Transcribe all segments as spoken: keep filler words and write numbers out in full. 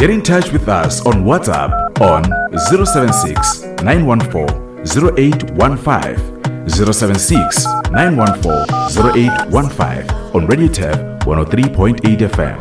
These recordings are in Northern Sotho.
Get in touch with us on WhatsApp on zero seven six, nine one four, zero eight one five, zero seven six, nine one four, zero eight one five on Radio Turf one oh three point eight F M.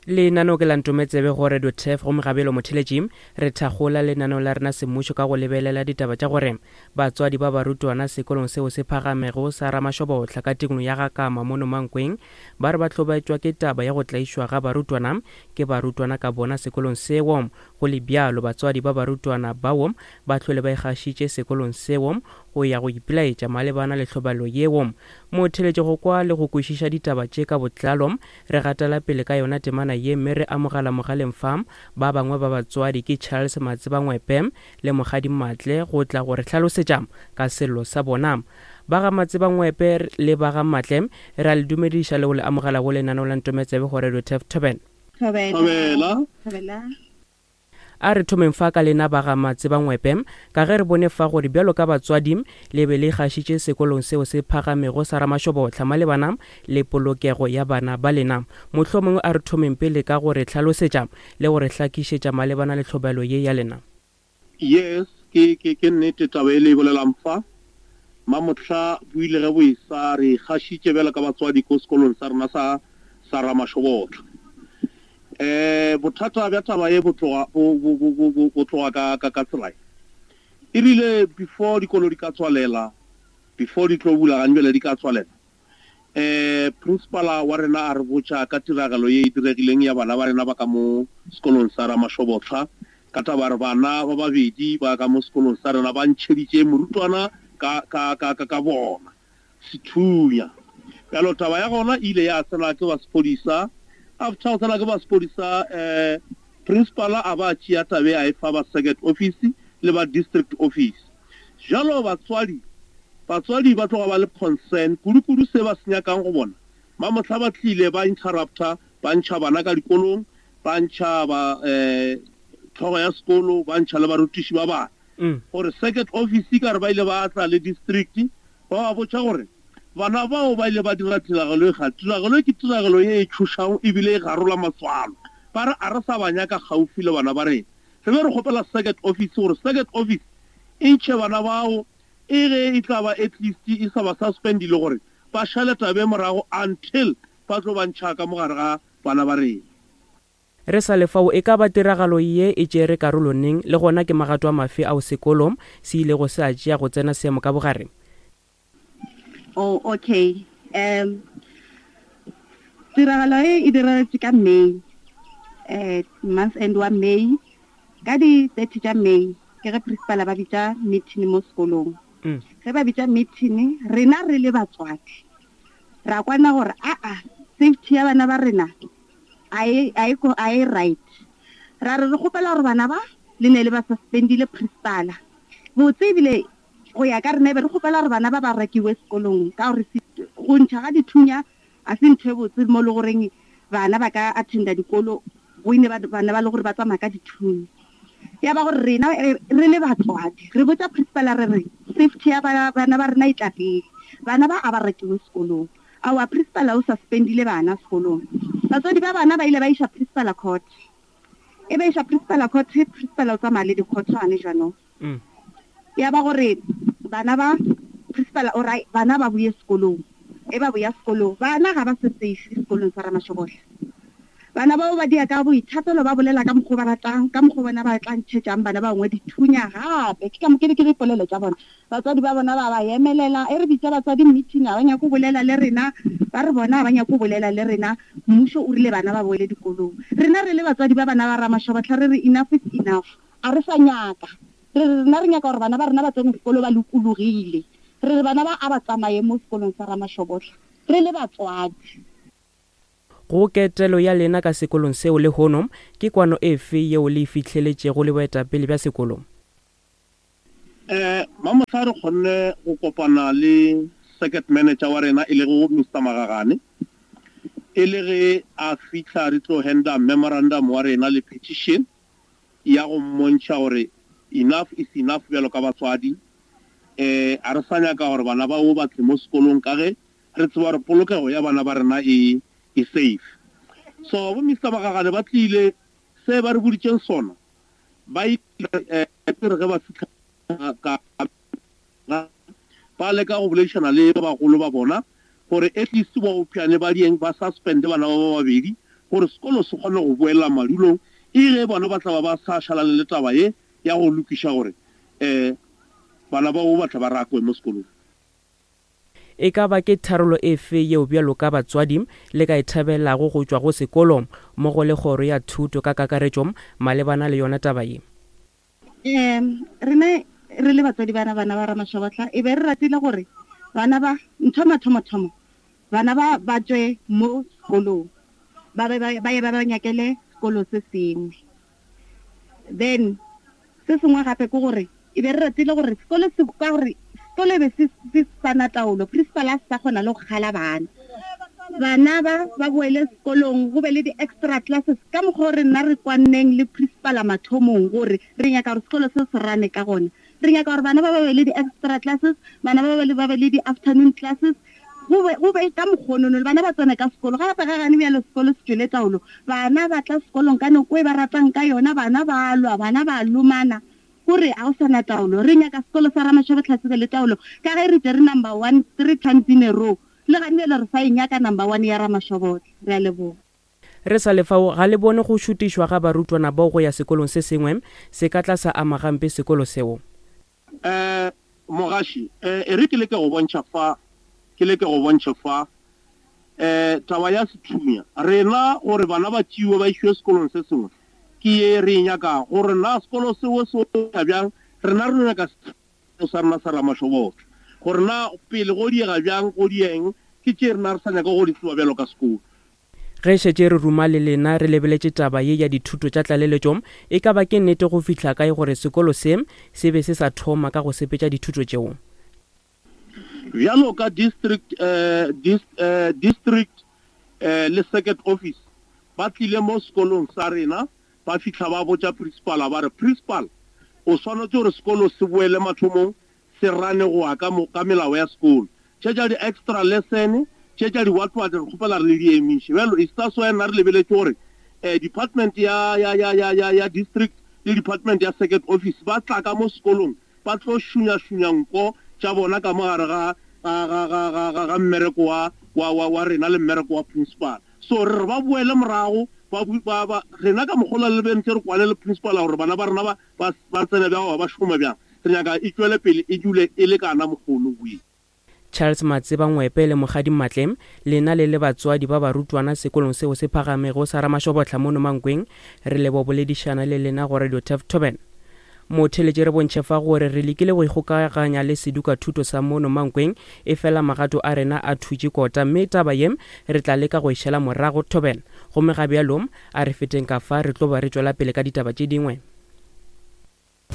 Lenaneo ke la Ntometsebe go Radio Turf go Mogabelo Motheletši. Re thakgola lenaneo la rena semmušo ka go lebelela ditaba tša gore batswadi ba barutwana sekolong seo se phagamego sa Ramashobotla ka tikologo ya Gakama mono Mankweng ba re ba hlobaetšwa ke taba ya go tlaišwa ga barutwana ke barutwana ka bona sekolong seo. Go le bjalo, batswadi ba barutwana bao ba hlole ba ikgašitše sekolong seo go ya go ipelaetša malebana le tlhobalo yeo. Motheletši go kwa le go kwešiša ditaba tše ka botlalo, re gatela pele ka yona temana ye mme re amogela mogaleng fa ba bangwe ba batswadi ke Charles Matsebangwepe le Mokgadi Matle go tla go re hlalosetša ka sello sa bona. Ba ga Matsebangwepe le ba ga Matle, re a le dumediša le go le amogela go lenaneo la Ntometsebe go Radio Turf. Thobela. Thobela. Thobela. A re thomeng fa ka lena ba ga Matsebangwepe, ka ge re bone fa gore bjalo ka batswadi le be le gašitše sekolong seo se phagamego sa Ramashobotla malebana le polokego ya bana ba lena. Mohlomongwe a re thomeng pele ka go re hlalosetša le go re hlakišetša malebana le tlhobelo ye ya lena. Yes, ke, ke, ke nnete taba e le e bolelang fa. Mamohla bo ile ge bo e sa re gašitše bjalo ka batswadi ko sekolong sa rena sa, sa Ramashobotla. Eh, bothata bja taba ye bo tloga, bo, bo, bo, bo, bo, bo tloga ka, ka, ka tsela e. E rile before dikolo di ka tswalela, before di tlo bula gane bjale di ka tswalela, eh, principala wa rena a re botša ka tiragalo ye e diregileng ya bana ba rena ba ka mo sekolong sa Ramashobotla, ka taba re bana ba babedi ba ka mo sekolong sa rena ba ntšheditše morutwana ka, ka, ka, ka, ka bona sethunya. Bjalo taba ya gona e ile ya tsena ke ba sephodisa. After go tsena ke ba sephodisa, eh, principala a ba tšea tabe a e fa ba circuit office le ba district office. Jalo batswadi, batswadi ba tloga ba le concern kudu-kudu se ba se nyakang go bona. Mamohla ba tlile ba interrupta, ba ntšha bana ka dikolong, ba ntšha ba, eh, tlhogo ya sekolo, ba ntšha le barutiši ba bana. Mm. Gore circuit office ka re ba ile ba tla le district, ba ba botša gore bana bao ba ile ba dira tiragalo e ga, tiragalo e ke tiragalo ye e tšhošago ebile e garola matswalo. Ba re a re sa ba nyaka gaufi le bana ba rena. Re be re kgopela circuit office gore circuit office e ntšhe bana bao, e ge e tla ba at least e sa ba suspendile gore ba šale tabe morago until ba tlo ba ntšha ka mogare ga bana ba rena. Re sa le fao, e ka ba tiragalo ye e tšere karolo neng, le gona ke magato a mafe ao sekolo se ilego se a tšea go tsena seemo ka bogare? Oh, okay. Um, tiragalo e e diragetše ka May, eh, month end wa May, ka di thirty tša May, ke ge principal ba bitša meeting mo sekolong. Mm. Ge ba bitša meeting, rena re le batswadi, ra kwana gore, aa, safety ya bana ba rena a e, a e ko-, a e right. Ra re re kgopela gore bana ba le ne le ba suspendile principal. Botse ebile go ya ka rena e be re kgopela gore bana ba ba rekiwe sekolong, ka gore se-, go ntšha ga dithunya a se ntho e botse mo le goreng bana ba ka attenda dikolo, go ine ba, bana ba le gore ba tsamaya ka dithunya. Ya ba gore rena, eh, re le batswadi, re botša principal re re safety ya bana, bana ba rena e tla pele, bana ba a ba rekiwe sekolong. Aowa, principal o suspendile bana sekolong. Batswadi ba bana ba ile ba iša principal court. E ba iša principal court, principal o tsamaya le dikgothwane jaanong. Mm. Ya ba gore bana ba principal o ra bana ba buye sekolong. E ba buya sekolong, bana ga ba se safe sekolong sa Ramashobotla. Bana bao ba dia ka boithatelo, ba bolela ka mokgwa ba ratang, ka mokgwa bona ba tla ntšhetšang bana ba bangwe dithunya gape. Ke ka mo-, ke di-, ke dipolelo tša bona. Batswadi ba bona ba ba emelela, e re bitša batswadi meeting, ga ba nyake go bolela le rena, ba re bona ga ba nyake go bolela le rena, mmušo o rile bana ba boele dikolong. Rena re le batswadi ba bana ba Ramashobotla re re enough is enough, a re sa nyaka. Re re rena re nyaka gore bana ba rena ba tsene sekolo ba lokologile. Re re bana ba a ba tsamaye mo sekolong sa Ramashobotla, re le batswadi. Go ketelo ya lena ka sekolong seo lehono, ke kwano efe yeo le e fihleletšego le boetapele bja sekolo? Eh, Mamohla re kgonne go kopana le circuit manager wa rena e lego Mister Magagane. E le ge a fihla re tlo handa memorandum wa rena le petition ya go mmontšha gore enough is enough bjalo ka batswadi. Eh, a re sa nyaka gore bana bao ba tle mo sekolong ka ge re tseba gore polokego ya bana ba rena e, e safe. So bo Mister Magagane ba tlile Se ba re boditšeng sona, ba ile re ge ba fihla ka ba leka go boledišana le ba bagolo ba bona gore at least ba opšane ba dieng ba suspende bana ba ba babedi gore sekolo se kgone go boela madulong, e ge bona ba tla ba ba sa šalane le taba ye ya go lokiša gore um bana bao ba tla ba rakwe mo sekolong. E ka ba ke tharolo efe yeo bjalo ka batswadi le ka e thabelago go tšwa go sekolo mmogo le kgoro ya thuto ka kakaretšo malebana le yona taba ye? Um rena re le batswadi bana bana ba Ramashobotla e be re ratile gore bana ba ntho mathomothomo bana ba ba tšwe mo sekolong, ba be ba ye ba ba nyakele sekolo se sengwe. Then se sengwe gape ke gore e be re ratile gore sekolo se ka gore sekolo e be se se sana taolo, principal a sa kgona le go kgala bana. Bana ba ba boele sekolong, go be le di-extra classes ka mokgwa o re nna re kwanneng le principal a mathomong gore re nyaka gore sekolo se se rane ka gona. Re nyaka gore bana ba ba be le di-extra classes, bana ba ba le ba be le di-afternoon classes, go be go be ka mokgonono le bana ba tsene ka sekolo. Gape ga gane bjalo sekolo se tšwele taolo, bana ba tla sekolong ka nako e ba ratang ka yona, bana ba lwa, bana ba lomana, gore a go sana taolo. Re nyaka sekolo sa Ramashobotla se be le taolo ka ge re tšere number one three times in a row, le gane bjale re sa e nyaka number one ya Ramashobotla. Re a leboga. Re sa le fao, ga le bone go šutišwa ga barutwana bao go ya sekolong se sengwe se ka tla sa ama gampe sekolo seo? Um mogaši, um e re ke leke go bontšha fa, ke leke go bontšha fa um taba ya sethunya. Rena gore bana ba tšeiwe ba išiwe sekolong se sengwe ke ye re e nyakago, gore na sekolo seo se ya bjang, rena re nyaka sekolo sa rena sa Ramashobotla, gore na pele go diega bjang, go dieng, ke tše rena re sa nyaka go di tseba bjalo ka sekolo. Ge šetše re ruma le lena re lebeletše taba ye ya dithuto tša tlaleletšo, e ka ba ke nnete go fihla kae gore sekolo se se be se sa thoma ka go sepetša dithuto tšeo? Bjalo ka district eh, dis, eh, district eh, le circuit office ba tlile mo sekolong sa rena, ba fihla ba botša principal ba re principal o swanetše gore sekolo se boele mathomong, se rane go ya ka mo, ka melao ya sekolo. Tše tša di-extra lesson, tše tša di-what-what re kgopela re le di emiše. Bjalo e that's why nna re lebeletše gore eh, department ya, ya, ya, ya, ya, ya district le department ya circuit office ba tla ka mo sekolong ba tlo šunya-šunya nko tša bona ka mo gare ga, ga, ga, ga, ga, ga, ga mmereko wa, wa, wa, wa rena le mmereko wa principal. So re re ba boele morago, ba bu-, ba, ba, rena ka mokgola le bentse re kwane le principal gore bana ba rena ba, ba, ba tsene bjang goba ba šoma bjang. Re nyaka e tšwele pele e dule e lekana mokgono boe. Charles Matseba Ngwepe le Mokgadi Matle, lena le le batswadi ba barutwana sekolong seo se phagamego sa Ramashobotla mono Mankweng, re lebo boledišana le lena go Radio Turf Toben. Motheletše re bontšhe fa gore re lekile go ikgokaganya le seduka thuto sa mono Mankweng, e fela magato a rena a thutše kota, mme taba ye re tla leka go e šala morago Toben. Gomme ga bjalo a re feteng ka fa, re tlo ba re tšwela pele ka ditaba tše dingwe.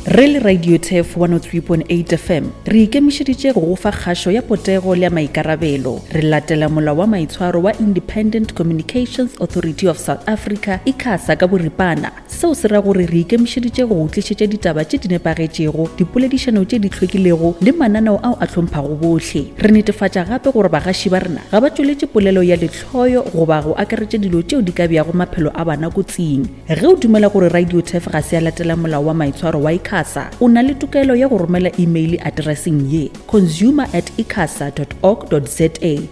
Re le Radio Turf one oh three point eight F M re ikemišeditše go go fa kgašo ya potego le ya maikarabelo. Re latela molao wa maitshwaro wa Independent Communications Authority of South Africa, ICASA ka boripana. Seo se ra gore re ikemišeditše go go tlišetša ditaba tše di nepagetšego, dipoledišano tše di hlwekilego le mananeo ao a hlomphago bohle. Re netefatša gape gore bagaši ba rena ga ba tšweletše polelo ya lehloyo goba go akaretša dilo tšeo di ka beago maphelo a bana kotsing. Ge o dumela gore Radio Turf ga se ya latela molao wa maitshwaro wa ICASA, o na le tokelo ya go romela email addresseng ye consumer at icasa dot org dot za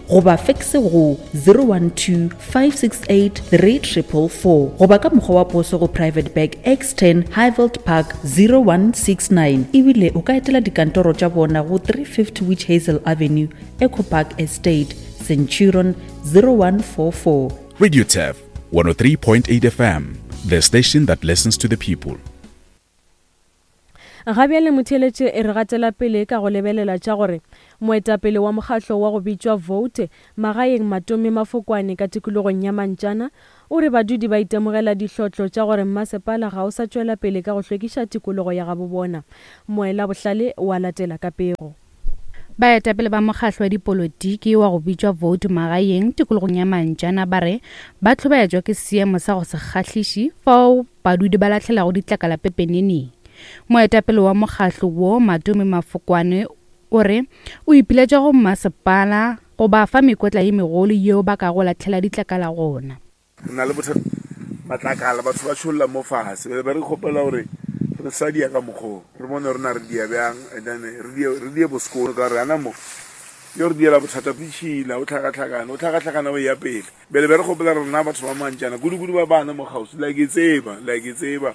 goba fax go zero one two five six eight three triple four goba ka mokgwa wa poso go Private Bag X ten Highveld Park zero one six nine. Ebile o ka etela dikantoro tša bona go three fifty Witch Hazel Avenue, Eco Park Estate, Centurion zero one four four. Radio Turf one oh three point eight F M, the station that listens to the people. Ga bjale motheeletše e re gatela pele ka go lebelela tša gore moetapele wa mokgatlo wa go bitšwa Vote magaeng Matome Mafokwane ka tikologong ya Mantšana o re badudi ba itemogela dihlotlo tša gore mmasepala ga o sa tšwela pele ka go hlwekiša tikologo ya gabo bona. Moela Bohlale wa latela ka pego. Baetapele ba mokgatlo wa dipolotiki wa go bitšwa Vote magaeng tikologong ya Mantšana ba re ba hlobaetšwa ke seemo sa go se kgahliše fao badudi ba lahlelago ditlakala pepeneneng. Moetapele wa mokgatlo wo Matome Mafokwane o re o ipiletša go mmasepala go ba fa mekotla ye megolo yeo ba kago lahlela ditlakala gona. Re na le bothata Matlakala batho ba tšholla mo fase. Be re kgopela gore re sa dia ka mokgo. Re bone re na re dia bjang and then re die re die bosekolo ka re ana mo. Yo re diela bothata pitšhila o tlhakatlhakana o tlhakatlhakana o ya pele. Bele be re kgopela rena batho ba mantšana kudu-kudu ba bana mo kgauswi la ke tseba la ke tseba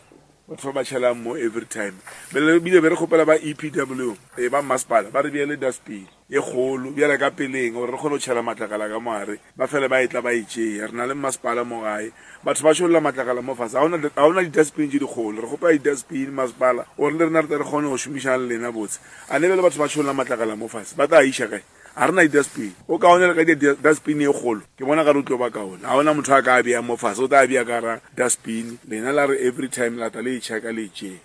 batho ba ba tšhelang mo every time. Bele bile be re kgopela ba E P W e ba masepala ba re beele dustbin e kgolo bjale ka peleng gore re kgone go tšhela matlakala ka moare ba fele ba etla ba e tšea. Re na le masepala mo gae batho ba tšholla matlakala mo fase ga ona di-dustbin tše dikgolo. Re kgopela di-dustbin masepala gore le rena re tle re kgone go šomišana le lena botse. A ne bele batho ba tšholla matlakala mo fase ba tla iša kae? A re na di-dustbin. O kaone le ka di-dustbin e kgolo ke bona ka re o tlo ba kaone. Ga ona motho a ka bea mo fase o tla bea ka ra dustbin lena la re every time la tla le e checka le e tšea.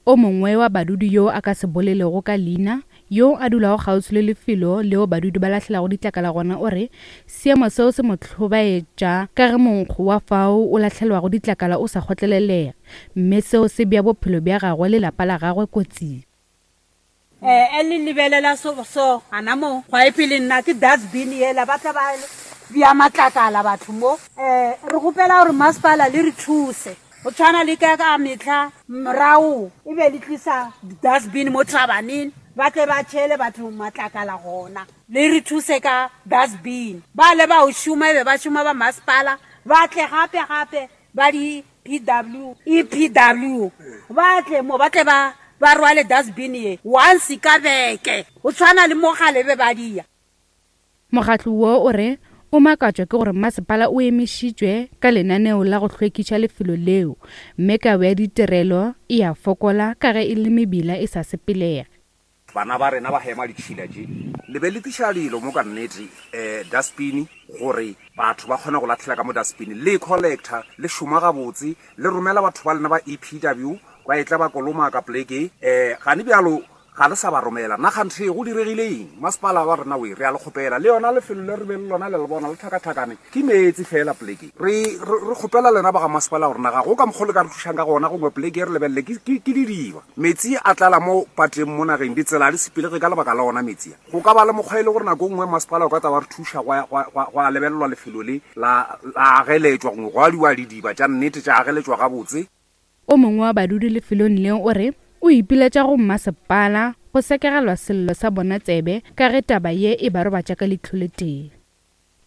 O mongwe wa badudi yo a ka se bolelego ka leina yo a dulago kgauswi le lefelo leo badudi ba lahlelago ditlakala gona o re seemo seo se mo hlobaetša ka ge monkgo wa fao o lahlelwago ditlakala o sa kgotlelelega mme seo se bea bophelo bja gagwe le lapa la gagwe kotsing. Eh le lebelela so so ana mo gwa e pele nna ke dustbin yela ba tla ba bea matlakala batho mo. Eh re gopela gore masepala le re thuse go tshwana le ka ka metlha morao e be le tlisa dustbin mo trabaneng ba tle ba tšhele batho matlakala gona le re thuse ka dustbin. Ba le ba o šoma be ba šoma ba masepala ba tle gape gape ba di P W E P W ba tle mo ba tle ba ba rwale dustbin ye once ka beke go tshwana le mogale be ba dia. Mokgatlo wo o re o makatšwa ke gore masepala o emišitšwe ka lenaneo la go hlwekiša lefelo leo mme kabo ya ditirelo e a fokola ka ge e le mebila e sa sepelege. Bana ba rena ba hema ditšhila tše le be le tliša dilo mo ka nnete um dustbin gore batho ba kgone go latlhela ka mo dustbin le collector le šoma gabotse le romela batho ba lena ba E P W ba etla ba kolomaka poleke um gane bjalo ga le sa ba romela nna kganthe go diregile eng masepala wa rena we re a le kgopela le yona lefelo le re be le lona le le bona le tlhakatlhakane ke meetse fela poleke re re kgopela lena ba ga masepala gore naga go ka mokgwa le ka re thušang ka gona gongwe poleke re lebelele ke didiba metsi a tlala mo pateng mo nageng ditsela di sepelege ka lebaka la ona metsi a go ka ba le mokgwa e le gore nako nngwe masepala o ka tla wa re thuša go a lebelelwa lefelo le la ageletšwa gongwe go adiwa didiba tša nnete tša ageletšwa gabotse. O mongwe wa badudi lefelong leo o re o ipiletša go mmasepala go sekegelwa sello sa bona tsebe ka ge taba ye e ba robatša ka leihlo le tee.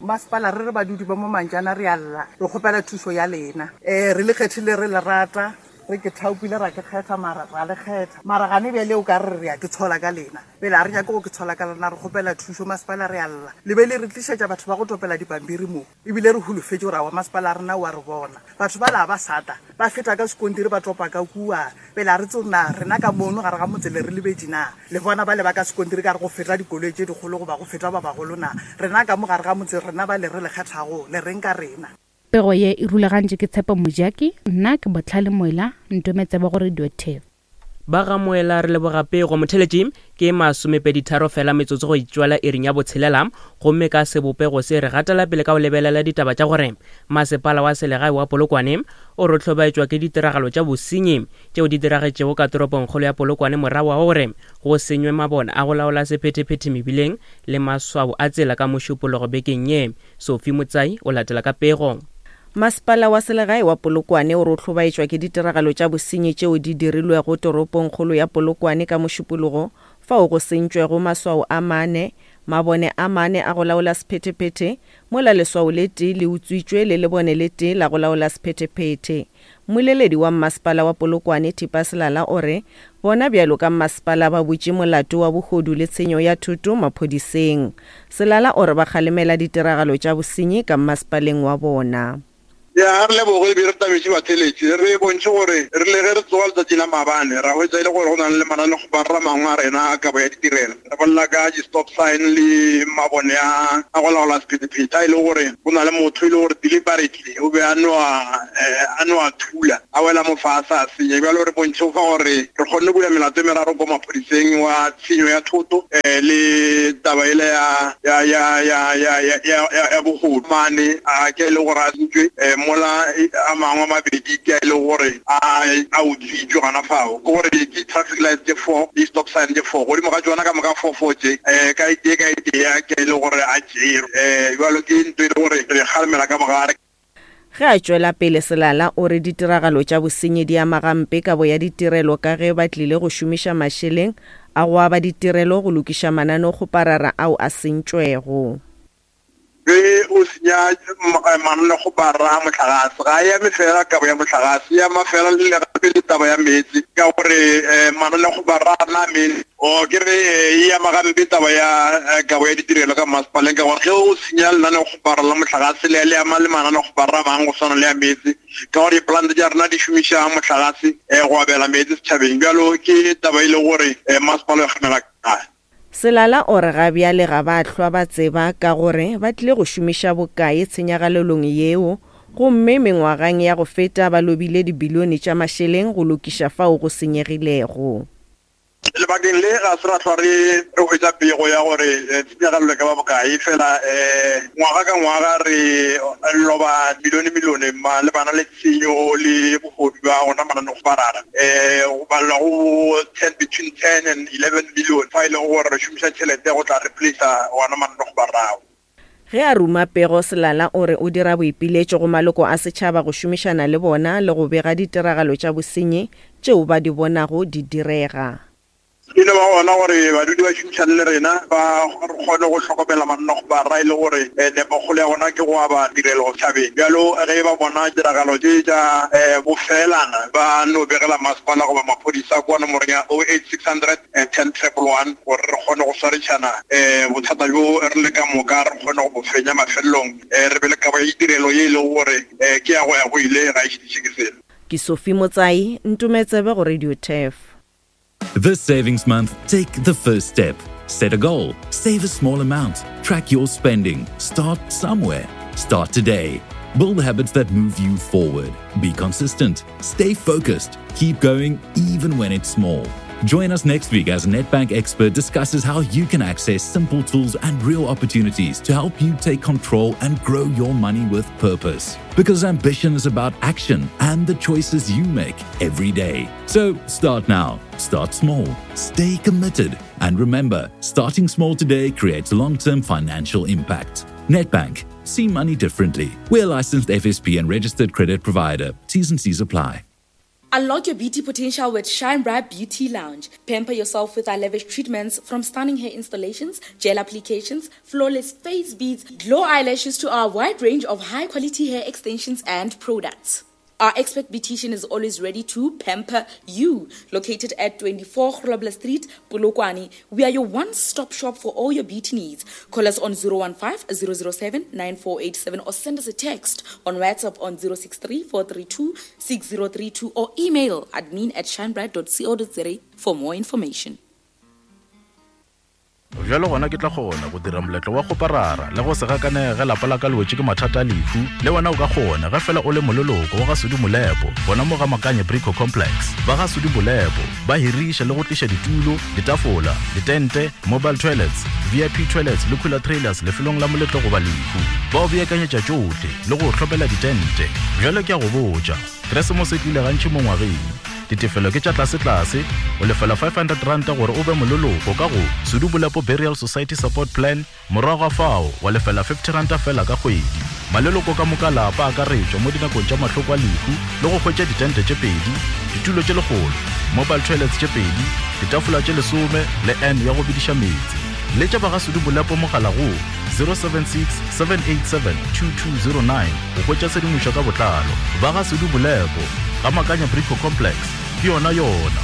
Masepala re re badudi ba mo Mantšana re a lla re kgopela thušo ya lena um re le kgethile re le rata re ke thaopile ra ke kgetha mara ra le kgetha mara gane bjale o ka re re ya ke tshola ka lena pele a re nyake go ke tshola ka lena re kgopela thušo masepala re a lla le be le re tlišetša batho ba go topela dipampiri mo ebile re holofetše gore awa masepala rena wa re bona batho ba la ba sata ba feta ka sekontiri ba topa ka kua pele a re tse na rena ka mono gare ga motse le re lebetše na le bona ba le ba ka sekontiri ka re go feta dikoloi tše dikgolo goba go feta ba bagolo na rena ka mo gare ga motse rena ba le re le kgethago le reng ka rena. Pego ye e rulagantšwe ke Tshepo Mojaki, nna ke Botlhale Moela, ntometsebe go Radio T V. Ba ga Moela re leboga pego motheletši ke masomepedi tharo fela metsotso go itšwela iring ya botshelela gomme ka sebopego se re gatela pele ka go lebelela ditaba tša gore masepala wa selegae wa Polokwane o re hlobaetšwa ke ditiragalo tša bosenyi tšeo di diragetšego ka toropongkgolo ya Polokwane morago ga gore go senywe mabone a go laola sephethephethe mebileng le maswao a tsela ka mošupologo bekeng ye. Sophie Motsai o latela ka pego. Masepala wa selegae wa Polokwane o re hlobaetšwa ke ditiragalo tša bosenyi tšeo di dirilwego toropongkgolo ya Polokwane ka mošupologo fao go sentšwego maswao a mane mabone a mane a go laola sephethephethe mola leswao le tee le utswitšwe le lebone le tee la go laola sephethephethe. Mmoleledi wa mmasepala wa Polokwane Thipa Selala o re bona bjalo ka mmasepala ba butše molato wa bohodu le tshenyo ya thoto maphodiseng. Selala o re ba kgalemela ditiragalo tša bosenyi ka mmasepaleng wa bona. Ya re leboge be re tabetše batheletši re bontšhe gore re le ge re tsoga letšatši la maabane ra hwetša e le gore go na le mananeo mangwe a rena a kabo ya ditirelo re bolela ka di-stop sign le mabone a a go laola sephethephethe a e le gore go na le motho e le gore deliberately o be a no a no a thula a wela mo fase a senya. Bjalo re bontšhe fa gore re kgonne go bula melato e meraro ko maphodiseng wa tshenyo ya thoto le taba ele ya ya ya ya ya ya ya bogodu mane a ke e le gore a sentšwe mola a mangwe a mabedi ke a e le gore a a utswitšwe gona fao ke gore ke traffic light tše four le stop sign tše four godimo ga tšona ka moka four four tše um ka e tee ka e tee ke e le gore a tšerwe um jalo ke ntho e le gore re kgalemela ka mogare. Ge a tšwela pele Selala o re ditiragalo tša bosenyi di ama gampe kabo ya ditirelo ka ge ba tlile go šomiša mašeleng a go aba ditirelo go lokiša mananeokgoparara ao a sentšwego. Ge o senya mananeokgoparara a mohlagase, ga e ame fela kabo ya mohlagase, e ama fela le gape le taba ya meetse, ka gore mananeokgoparara a na meetse. O ke re e ama gampe taba ya kabo ya ditirelo ka masepaleng, ka gore ge o senya lenaneokgoparara la mohlagase le le ama le mananeokgoparara a mangwe go swana le ya meetse, ka gore dipolante tša rena di šomiša mohlagase go abela meetse setšhabeng. Bjalo ke taba e le gore masepala o kgamela kae. Selala o re ga bjale ga ba hlwa ba tseba ka gore ba tlile go šomiša bokae tshenyagalelong yeo, gomme mengwageng ya go feta ba lobile dibilione tša mašeleng go lokiša fao go senyegilego. Lebakeng le ga se ra hlwa re re hwetša pego ya gore tshenyagalelo e ka ba bokae, fela ngwaga ka ngwaga re loba milione milione malebana le tshenyo le bogodu bja gona mananeokgoparara. Go balelwa go ten between ten and eleven million fa e leng gore re šomiša tšhelete go tla replace-a gona mananeokgoparara ao. Ge a ruma pego, Selala o re o dira boipiletšo go maloko a setšhaba go šomišana le bona le go bega ditiragalo tša bosenyi tšeo ba di bonago di direga. Ke no ba gona gore badudi ba šomišane le rena, ba kgone go hlokomela mananeokgoparara e le gore nepokgolo ya bona ke go aba tirelo setšhabeng. Bjalo ge ba bona tiragalo tše tša bofelana, ba no begela masepala goba maphodisa kwa nomorong ya oh eight six hundred ten triple one gore re kgone go swarišana bothata bjo re le ka moka, re kgone go bo fenya mafelelong, re be le kabo ya ditirelo ye e leng gore ke ya go ya go ile, ga e šitiše ke selo. Ke Sophie Motsai, Ntumetsebe go Radio Turf. This savings month, take the first step. Set a goal, save a small amount, track your spending, start somewhere. Start today. Build habits that move you forward. Be consistent, stay focused, keep going even when it's small. Join us next week as Nedbank expert discusses how you can access simple tools and real opportunities to help you take control and grow your money with purpose. Because ambition is about action and the choices you make every day. So start now, start small, stay committed, and remember, starting small today creates long-term financial impact. Nedbank, see money differently. We're licensed F S P and registered credit provider. T's and C's apply. Unlock your beauty potential with Shine Bright Beauty Lounge. Pamper yourself with our lavish treatments, from stunning hair installations, gel applications, flawless face beads, glow eyelashes to our wide range of high-quality hair extensions and products. Our expert beautician is always ready to pamper you. Located at twenty-four Grobler Street, Polokwane, we are your one-stop shop for all your beauty needs. Call us on zero one five, zero zero seven, nine four eight seven or send us a text on WhatsApp on zero six three, four three two, six zero three two or email admin at shinebright dot co dot za for more information. Bjalo gona ke tla kgona go dira moletlo wa kgoparara le go se gakanege lapa la ka le wetše ke mathata a lehu. Le wena o ka kgona ge fela o le moleloko wa ga Sudi Molepo, gona mo ga Makanye Brico Complex. Ba ga Sudi Molepo ba hiriša le go tliša ditulo, ditafola, ditente, mobile toilets, V I P toilets le cooler trailers lefelong la moletlo goba lehu. Ba o beakanyetša tšohle le go hlopela ditente. Bjalo ke a go botša, Keresemose e tlile gantši mo ngwageng. Ditefelo ke tša tlase-tlase, o lefela five hundred rand gore o be moleloko ka go Sudi Molepo Burial Society Support Plan, morago ga fao wa lefela fifty rand fela ka kgwedi. Maleloko ka moka lapa a akaretšwa mo dinakong tša mahloko a lehu le go hwetša ditente tše pedi, ditulo tše lekgolo, mobile toilets tše pedi, ditafola tše lesome le N ya go bidiša meetse. Letša ba ga Sudi Molepo mogala go zero seven six, seven eight seven, two two zero nine go hwetša tshedimošo ka botlalo. Ba ga Sudi Molepo, ga Makanya Brico Complex, ke yona yona.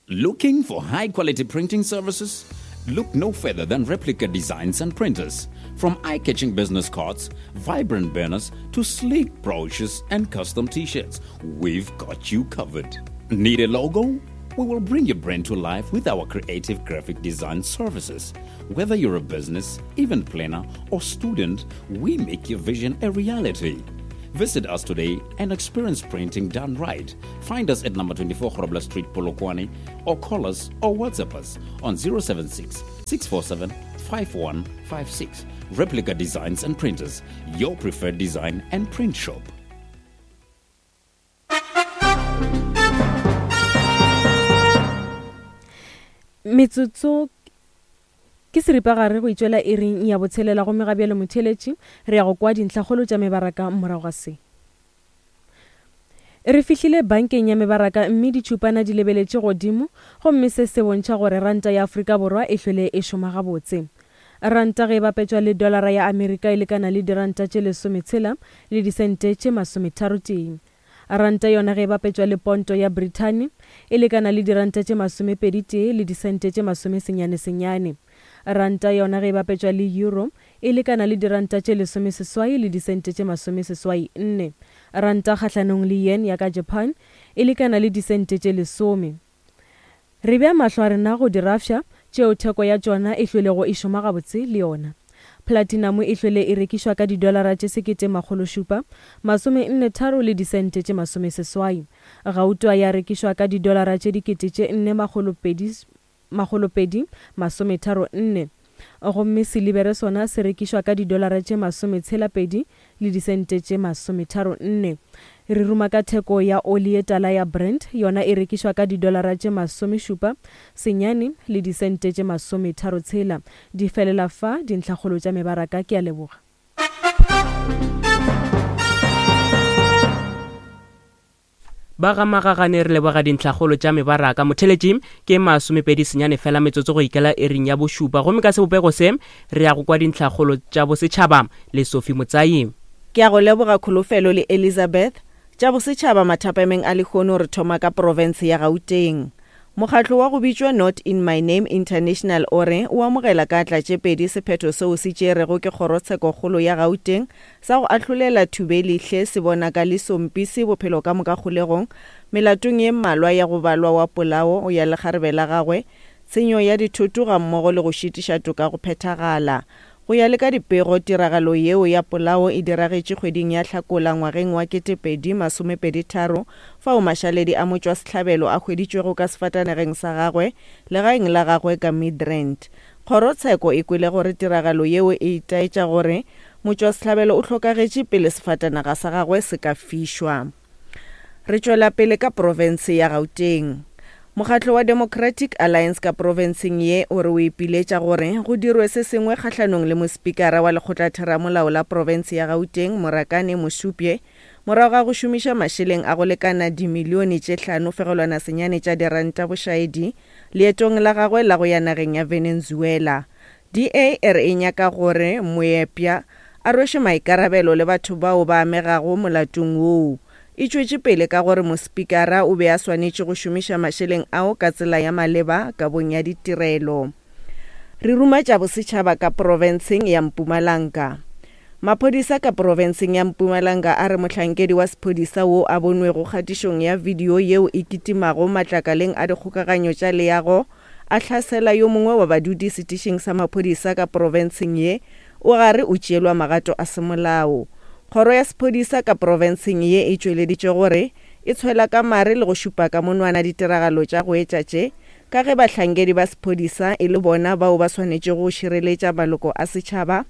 Looking for high-quality printing services? Look no further than Replica Designs and Printers. From eye-catching business cards, vibrant banners, to sleek brochures and custom t-shirts, we've got you covered. Need a logo? We will bring your brand to life with our creative graphic design services. Whether you're a business, event planner, or student, we make your vision a reality. Visit us today and experience printing done right. Find us at number twenty-four Grobler Street, Polokwane, or call us or WhatsApp us on zero seven six, six four seven, five one five six. Replica Designs and Printers, your preferred design and print shop. Metsotso ke seripagare go itšwela iring ya botshelela, gomme ga bjale motheeletši re ya go kwa dintlhakgolo tša mebaraka morago ga se. Re fihlile bankeng ya mebaraka mme ditšhupana di lebeletše godimo gomme se se bontšha gore ranta ya Afrika Borwa e hlwele e šoma gabotse. Ranta ge e bapetšwa le dolara ya Amerika e lekana le diranta tše lesometshela le disente tše masometharotee. Ranta yona ge e bapetšwa le ponto ya Brithani e lekana le diranta tše masomepedi tee le disente tše masomesenyane senyane. Ranta yona ge e bapetšwa le euro e lekana le diranta tše lesomeseswai le disente tše masomeseswai nne. Ranta kgahlanong le yen ya ka Japan e lekana le disente tše lesome. Re bea mahlo a rena go dirafša tšeo theko ya tšona e hlwelego e šoma gabotse le yona. Platinum e hlwele e rekišwa ka didolara tše sekete makgolo šupa, masome nne tharo le disente tše masomeseswai. Gauta ya rekišwa ka didolara tše dikete tše nne makgolo pedi makgolo pedi masometharo nne. Gomme silibere sona se rekišwa ka didolara tše masometshela pedi le disente tše masometharo nne. Re ruma ka theko ya oli ye tala ya Brent, yona e rekišwa ka didolara tše masomešupa senyane le disente tše masometharo tshela. Di felela fa dintlhakgolo tša mebaraka. Ke a leboga. Ba ga Magagane re leboga dintlhakgolo tša mebaraka. Motheletši ke masomepedi senyane fela metsotso go ikela ering ya bošupa, gomme ka sebopego se re ya go kwa dintlhakgolo tša bosetšhaba le Sophie Motsai. Ke a go leboga Kholofelo le Elizabeth. Tša bosetšhaba mathapameng a lehono re thoma ka profense ya Gauteng. Mokgatlo wa go bitšwa Not In My Name International o re o amogela ka tla tše pedi sephetho seo se tšerego ke kgorotshekokgolo ya Gauteng sa go ahlolela Thubelihle Sebonakaliso Mpisi bophelo ka moka kgolegong melatong ye mmalwa ya go balwa wa polao ya lekgarebe la gagwe, tshenyo ya dithoto gammogo le go šitiša toka go phethagala. Go ya le ka dipego, tiragalo yeo ya polao e diragetše kgweding ya Hlakola ngwageng wa ketepedi masomepedi tharo, fao mašaledi a motšwasehlabelo a hweditšwego ka sefatanageng sa gagwe legaeng la gagwe ka Midrand. Kgorotsheko e kwele gore tiragalo yeo e itaetša gore motšwasehlabelo o hlokagetše pele sefatanaga sa gagwe se ka fišwa. Re tšwela pele ka profense ya Gauteng. Mokgatlo wa Democratic Alliance ka profenseng ye o re o ipiletša gore go dirwe se sengwe kgahlanong le mospikara wa lekgotlatheramolao la profense ya Gauteng Morakane Mosupye morago ga go šomiša mašeleng a go lekana dimilione tše hlano fegelwana senyane tša diranta bošaedi leetong la gagwe la go ya nageng ya Venezuela. D A e re e nyaka gore moepša a rweše maikarabelo le batho bao ba amegago molatong woo. E tšwetše pele ka gore mospikara o be a swanetše go šomiša mašeleng ao ka tsela ya maleba kabong ya ditirelo. Re ruma tša bosetšhaba ka profenseng ya Mpumalanga. Maphodisa ka profenseng ya Mpumalanga a re mohlankedi wa sephodisa wo a bonwego kgatišong ya video yeo e kitimago matlakaleng a dikgokaganyo tša leago a hlasela yo mongwe wa badudi setišing sa maphodisa ka profenseng ye o gare o tšeelwa magato a semolao. Kgoro ya sephodisa ka profenseng ye e tšweleditše gore e tshwela ka mare le go šupa ka monwana ditiragalo tša go etša tše ka ge bahlankedi ba sephodisa e le bona bao ba swanetšego go šireletša maloko a setšhaba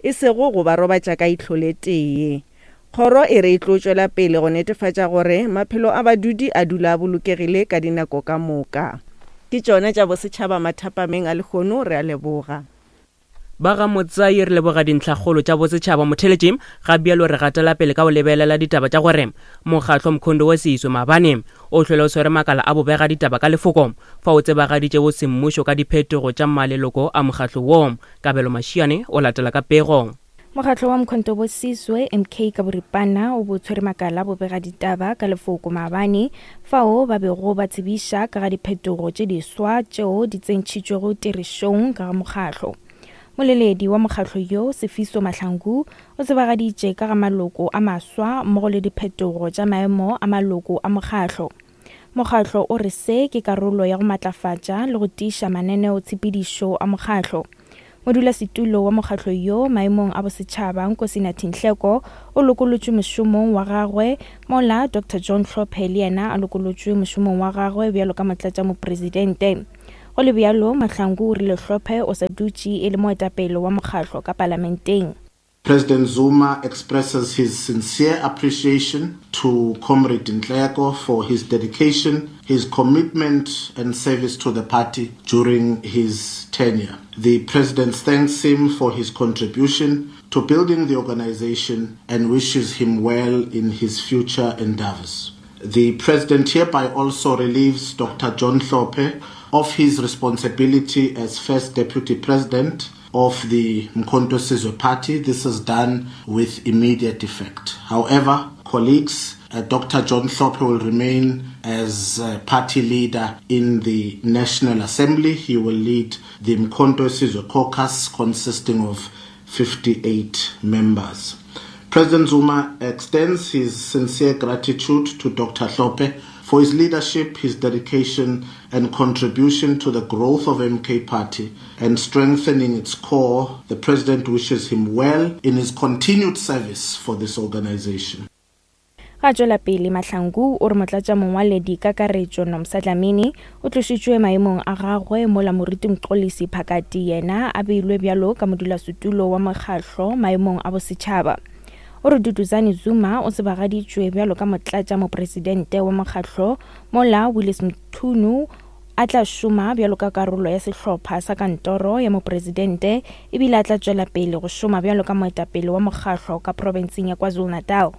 e sego go ba robatša ka ihlo le tee. Kgoro e re e tlo tšwela pele go netefatša gore maphelo a badudi a dula a bolokegile ka dinako ka moka. Ke tšona tša bosetšhaba mathapameng a lehono. Re a leboga. Ba ga Motsai re leboga dintlhakgolo tša bosetšhaba. Motheletši ga bjalo re gatela pele ka go lebelela ditaba tša gore mokgatlo Mkhondo wa Siswe maabane o hlwele o swere makala a bobega ditaba ka lefoko fa o tsebagaditše semmušo ka diphetogo tša maleloko a mokgatlo wo. Kabelo Mashiane o latela ka pego. Mokgatlo wa Mkhonto wa Sizwe M K ka boripana o bo tshwere makala bobega ditaba ka lefoko maabane fao ba bego ba tsebiša ka ga diphetogo tše diswa tšeo di tsentšhitšwego tirišong ka ga mokgatlo. Moleledi wa mokgatlo yo Sefiso Mahlangu o tsebagaditše ka ga maloko a maswa mmogo le diphetogo tša maemo a maloko a mokgatlo. Mokgatlo o re se ke karolo ya go matlafatša le go tiiša mananeo-tshepedišo a mokgatlo. Modulasetulo wa mokgatlo yo maemong a bosetšhaba Nkosinathi Nhleko o lokolotšwe mošomong wa gagwe mola Doctor John Hlophe le yena a lokolotšwe mošomong wa gagwe bjalo ka motlatšamopresidente. Go le bjalo, Mahlangu o rile Hlophe o sa dutše e le moetapele wa mokgatlo ka palamenteng. President Zuma expresses his sincere appreciation to Comrade Nhleko for his dedication, his commitment and service to the party during his tenure. The President thanks him for his contribution to building the organization and wishes him well in his future endeavors. The President hereby also relieves Doctor John Hlophe of his responsibility as First Deputy President of the Umkhonto Sizwe Party. This is done with immediate effect. However, colleagues, uh, Doctor John Hlophe will remain as uh, party leader in the National Assembly. He will lead the Umkhonto Sizwe caucus consisting of fifty-eight members. President Zuma extends his sincere gratitude to Doctor Hlophe for his leadership, his dedication and contribution to the growth of M K Party and strengthening its core. The President wishes him well in his continued service for this organization. Ga tšwela pele Mahlangu o re motlatša mongwaledi kakaretšo Nomsa Dlamini o tlošitšwe maemong a gagwe mola Moruti Mxolisi Phakati yena a beilwe bjalo ka modulasetulo wa mokgahlo maemong a bosetšhaba. O re Duduzane Zuma o tsebagaditšwe bjalo ka motlatša mopresidente wa mokgahlo mola Willis Mchunu a tla šoma bjalo ka karolo ya sehlopha sa kantoro ya mopresidente ebile a tla tšwela pele go šoma bjalo ka moetapele wa mokgahlo ka profenseng ya KwaZulu-Natal.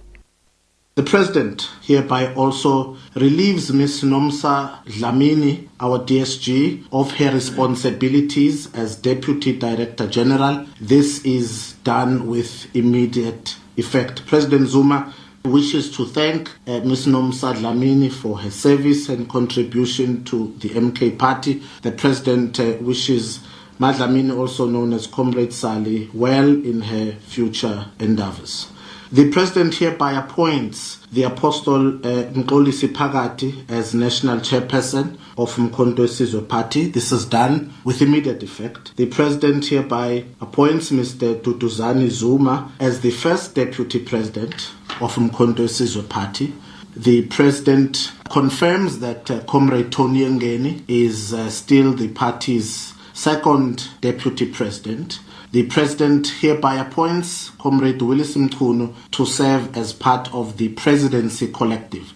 The President hereby also relieves Miz Nomsa Dlamini, our D S G, of her responsibilities as Deputy Director General. This is done with immediate effect. President Zuma wishes to thank, uh, Miz Nomsa Dlamini for her service and contribution to the M K Party. The President, uh, wishes Madlamini, also known as Comrade Sally, well in her future endeavors. The President hereby appoints the Apostle, uh, Mxolisi Phakati as National Chairperson of Umkhonto Sizwe Party. This is done with immediate effect. The President hereby appoints Mister Duduzane Zuma as the first Deputy President of Umkhonto Sizwe Party. The President confirms that, uh, Comrade Tony Yengeni is, uh, still the party's second Deputy President. The President hereby appoints Comrade Willis Mchunu to serve as part of the Presidency Collective.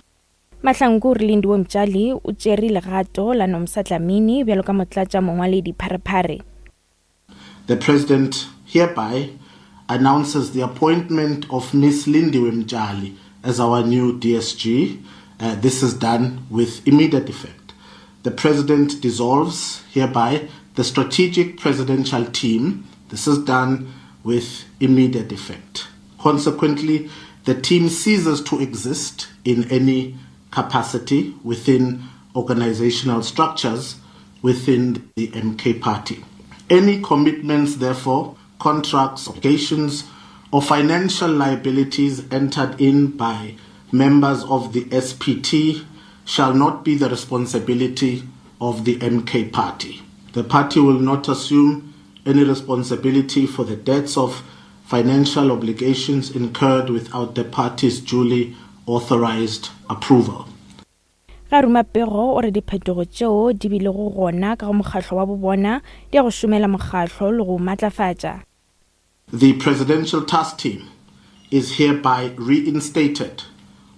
Mahlangu re Lindiwe Mtshali o tšere legato la Nomsa Dlamini bjalo ka motlatša mongwaledi pharephare. The President hereby announces the appointment of Miz Lindiwe Mtshali as our new D S G. Uh, this is done with immediate effect. The President dissolves hereby the strategic presidential team. This is done with immediate effect. Consequently, the team ceases to exist in any capacity within organizational structures within the M K Party. Any commitments, therefore, contracts, obligations, or financial liabilities entered in by members of the S P T shall not be the responsibility of the M K Party. The party will not assume any responsibility for the debts of financial obligations incurred without the party's duly authorized approval. Ga ruma pego o re diphetogo tšeo di bilego gona ka go mokgahlo wa bobona di ya go šomela mokgahlo le go matlafatša. The presidential task team is hereby reinstated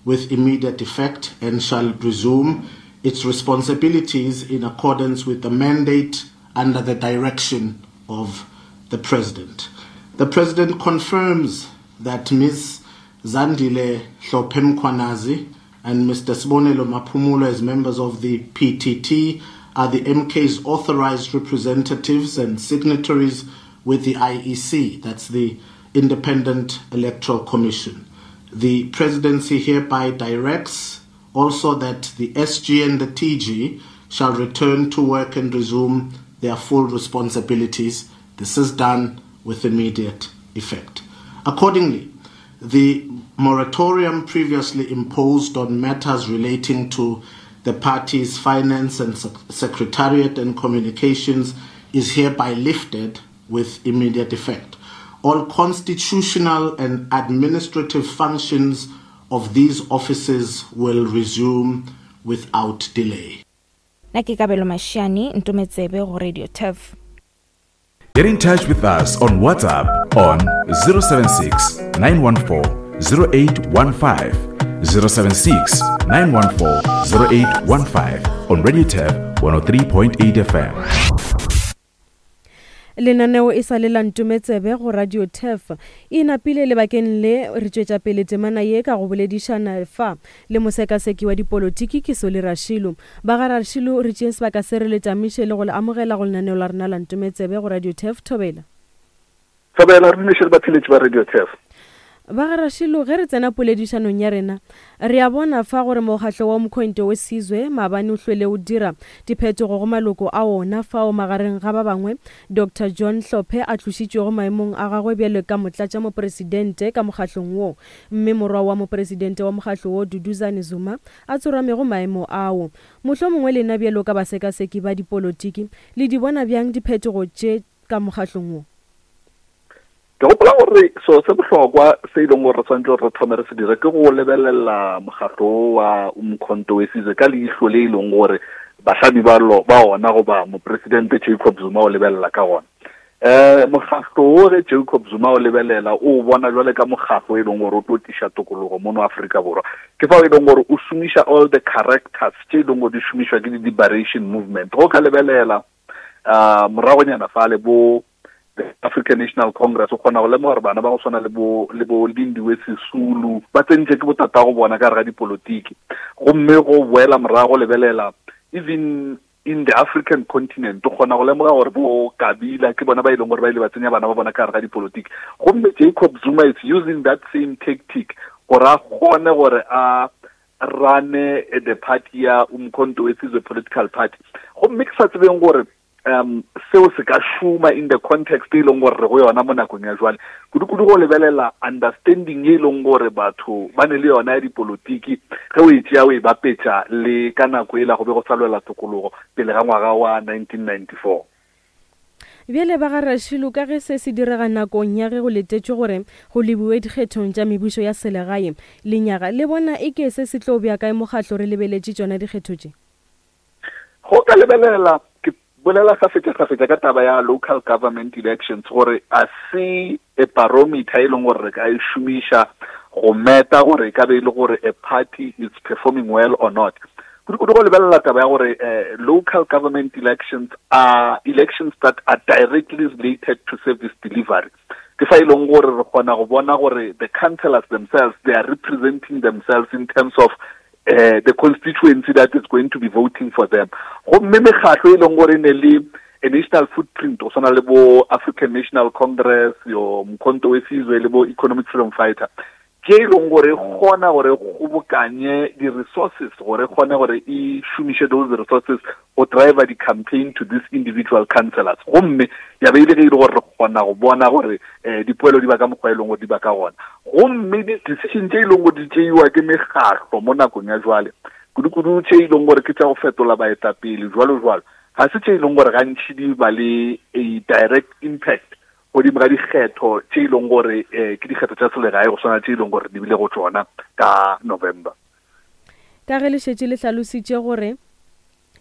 with immediate effect and shall resume its responsibilities in accordance with the mandate under the direction of the President. The President confirms that Miz Zandile Hlophe Mkhwanazi and Mister Sibonelo Maphumulo as members of the P T T are the M K's authorized representatives and signatories with the I E C, that's the Independent Electoral Commission. The Presidency hereby directs also that the S G and the T G shall return to work and resume their full responsibilities. This is done with immediate effect. Accordingly, the moratorium previously imposed on matters relating to the party's finance and sec- secretariat and communications is hereby lifted with immediate effect. All constitutional and administrative functions of these offices will resume without delay. Nna ke Kabelo Mashiane, Ntometsebe go Radio Turf. Get in touch with us on WhatsApp on zero seven six, nine one four, zero eight one five, zero seven six, nine one four, zero eight one five on Radio Turf one oh three point eight F M. Lenaneo e sa le la Ntometsebe go Radio Turf e napile lebakeng le re tšwetša pele temana ye ka go boledišana fa le mosekaseki wa dipolotiki ke Soli Rašilu. Ba ga Rašilu re tšeeng sebaka se re le tamiše le go le amogela go lenaneo la rena la Ntometsebe go Radio Turf. Thobela. Thobela, re dumeše le batheletši ba Radio Turf. Ba ga Rašilu, ge re tsena poledišanong ya rena, re a bona fa gore mokgatlo wa Umkhonto we Sizwe maabane o hlwele o dira diphetogo go maloko a ona fao magareng ga ba bangwe Doctor John Hlophe a tlošitšwego maemong a gagwe bjalo ka motlatšamopresidente ka mokgatlong wo, mme morwa wa mopresidente wa mokgatlo wo Duduzane Zuma a tsoramego maemo ao. Mohlomongwe lena bjalo ka basekaseki ba dipolotiki le di bona bjang diphetogo tše ka mokgatlong wo? Ke gopola gore so se bohlokwa se e leng gore re tshwanetse gore re thome re se dire ke go lebelela mokgatlo wa Umkhonto we Sizwe ka leihlo le e leng gore bahlami ba lo ba ona goba mopresidente Jacob Zuma o lebelela ka gona. Eh mokgatlo o ge Jacob Zuma o lebelela o bona jwale ka mokgatlo e leng gore o tlo tliša tokologo mono Afrika Borwa. Ke fao e leng gore o šomiša all the characters tše e leng gore di šomišwa ke di-liberation movement. Go ka lebelela uh moragonyana fale bo the African National Congress o kgona go lemoga gore bana ba go swana le bo le bo Lindiwe Sisulu ba tsentše ke botata go bona ka gare ga dipolotiki. Gomme go boela morago lebelela even in the African continent o kgona go lemoga gore bo Kabila ke bona ba e leng gore ba ile ba tsenya bana ba bona ka gare ga dipolotiki. Gomme Jacob Zuma is using that same tactic gore a kgone gore a rane the party ya Umkhonto we Sizwe political party. Gomme ke sa tsebeng gore um seo se ka šoma in the context e leng gore re go yona mo nakong ya jwale, kudu-kudu go lebelela understanding e leng gore batho ba ne le yona ya dipolotiki ge o e tšea o e bapetša le ka nako ela go be go sa lwela tokologo pele ga ngwaga wa nineteen ninety-four. Bjale ba ga Rašilu, ka ge se se direga nakong ya ge go letetšwe gore go lebiwe dikgethong tša mebušo ya selegae lenyaga, le bona e ke se se tlo bja kae mokgatlo re lebeletše tšona dikgetho tše? Go ka lebelela ke bolela kgafetša-kgafetša ka taba ya local government elections gore a se a barometer e leng gore re ka e šomiša go meta gore e ka be e le gore a party is performing well or not. Kudu-kudu go lebelela taba ya gore eh, local government elections are elections that are directly related to service delivery. Ke fa e leng gore re kgona go bona gore the councillors themselves, they are representing themselves in terms of Uh, the constituency that is going to be voting for them. Gomme mekgatlo e leng gore ne le a national footprint go swana le bo African National Congress, yo Mkhonto we Sizwe le bo Economic Freedom Fighter, ke e leng gore kgona gore kgobokanye di-resources gore kgone gore e šomiše those resources go drive the campaign to these individual councillors. Gomme ya be e le ge e le gore re kgona go bona gore eh, dipoelo di ba ka mokgwa e leng gore di ba ka gona. Gomme di-decision tše e leng gore di tšeiwa ke mekgatlo mo nakong ya jwale, kudu-kudu tše e leng gore ke tša go fetola baetapele jwalo jwalo, ga se tše e leng gore gantši di ba le a direct impact godimo ga dikgetho tše e leng gore eh, ke dikgetho tša selegae go swana tše e leng gore di bile go tšona ka November. Ka ge le šetše le hlalositše gore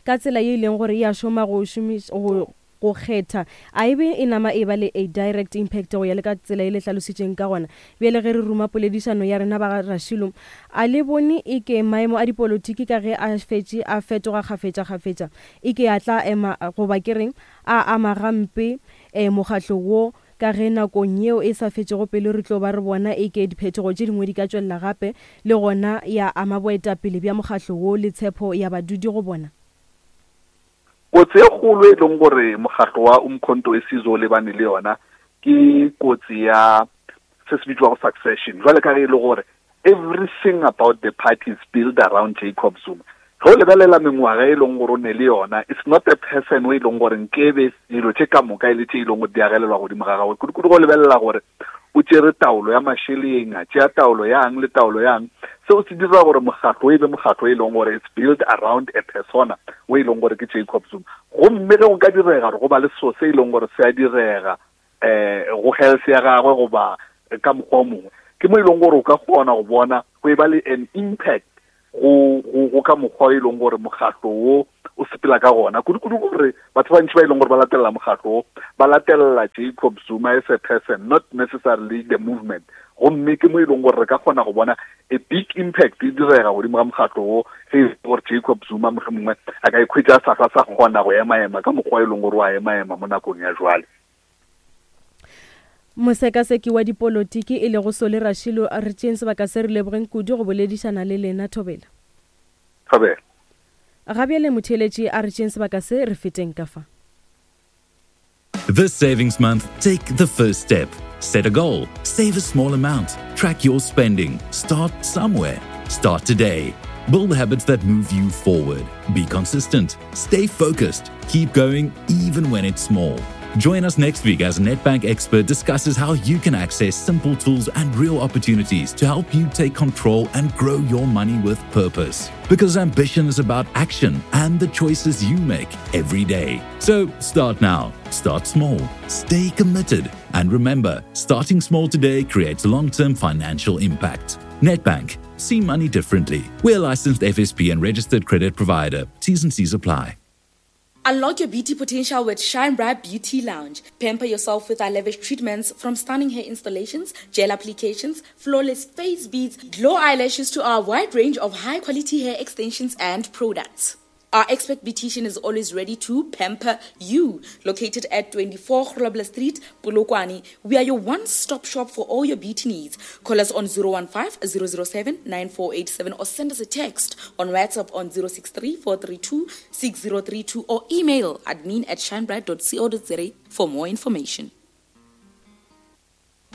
ka tsela ye e leng gore e a šoma go šomiša go go kgetha, a ebe e nama e ba le a direct impact go ya le ka tsela e le hlalositšeng ka gona. Bjale ge re ruma poledišano ya rena ba ga Rašilu, a le bone e ke maemo a dipolotiki ka ge a fetše a fetoga kgafetša-kgafetša e ke a tla ema goba ke reng a ama gampe eh, mokgatlo wo, ka ge nakong yeo e sa fetšego pele re tlo ba re bona e ke diphetogo tše dingwe di ka tšwelela gape le gona ya ama boetapele bja mokgatlo wo le tshepo ya badudi go bona? Kotsi e kgolo e leng gore mokgatlo wa Umkhonto we Sizwe o lebane le yona ke kotsi ya se se bitswago succession. Jwale ka ge e le gore everything about the party is built around Jacob Zuma. Ge o lebelela mengwaga e leng gore o ne le yona, it's not a person o e leng gore nkebe dilo tše ka moka e le tše e leng gore di agelelwa godimo ga gagwe. Kudu-kudu go lebelela gore o tšere taolo ya mašeleng, a tšea taolo yang le taolo yang, seo se dira gore mokgatlo e be mokgatlo e leng gore it's built around a persona o e leng gore ke Jacob Zuma. Gomme ge go ka direga gore go ba le seo se e leng gore se a direga eh go health ya gagwe goba ka mokgwa o mongwe, ke mo e leng gore o ka kgona go bona go e ba le an impact go go go ka mokgwa e leng gore mokgatlo wo o sepela ka gona. Kudu-kudu gore batho ba bantši ba e leng gore ba latelela mokgatlo wo ba latelela Jacob Zuma as a person, not necessarily the movement. Gomme ke mo e leng gore re ka kgona go bona a big impact e direga godimo ga mokgatlo wo ge e gore Jacob Zuma mohlomongwe a ka ikhwetša a sa hlwa sa kgona go ema-ema ka mokgwa e leng gore wa ema-ema mo nakong ya jwale. Mosekaseki wa dipolotiki e lego Solly Rashilo, re tšeeng sebaka se re lebogeng kudu go boledišana le lena. Thobela. Thobela. Ga bjale motheeletši, a re tšeeng sebaka se re feteng ka fa. This savings month, take the first step. Set a goal, save a small amount, track your spending, start somewhere. Start today. Build habits that move you forward. Be consistent, stay focused, keep going even when it's small. Join us next week as Nedbank expert discusses how you can access simple tools and real opportunities to help you take control and grow your money with purpose. Because ambition is about action and the choices you make every day. So start now, start small, stay committed, and remember, starting small today creates long term financial impact. Nedbank, see money differently. We're licensed F S P and registered credit provider. T's and C's apply. Unlock your beauty potential with Shine Bright Beauty Lounge. Pamper yourself with our lavish treatments, from stunning hair installations, gel applications, flawless face beads, glow eyelashes to our wide range of high-quality hair extensions and products. Our expert beautician is always ready to pamper you. Located at twenty-four Grobler Street, Polokwane, we are your one-stop shop for all your beauty needs. Call us on zero one five, zero zero seven, nine four eight seven or send us a text on WhatsApp on zero six three, four three two, six zero three two or email admin at shinebright dot co dot za for more information.